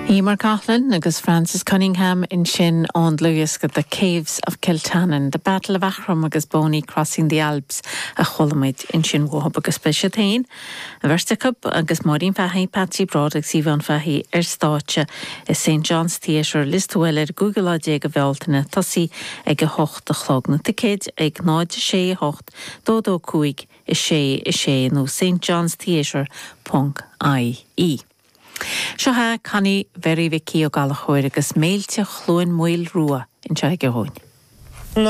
Emer Coughlan agus Francis Cunningham ansin ón dlúthdhiosca The Caves of Kiltannon, The Battle of Aughrim agus Boney Crossing the Alps a chuala muid ansin uathub agus beidh siad féin, an bheirt acu, agus Máirín Fahy, Patsy Broad agus Yvonne Fahy ar stáitse i St John's Theatre, Lios Tuathail ar an gcúigiú lá déag de Bhealtaine, tosaí ag 8 a chlog. Na ticéid ag 0, 6, 8, 2, 2, 5, 6, 6 nó stjohnstheatre ponc ie. Seo é Connie Mhary Mhicí Ó Gallchóir agus Méilte Chluain Maoil Rua anseo aige dhúinn.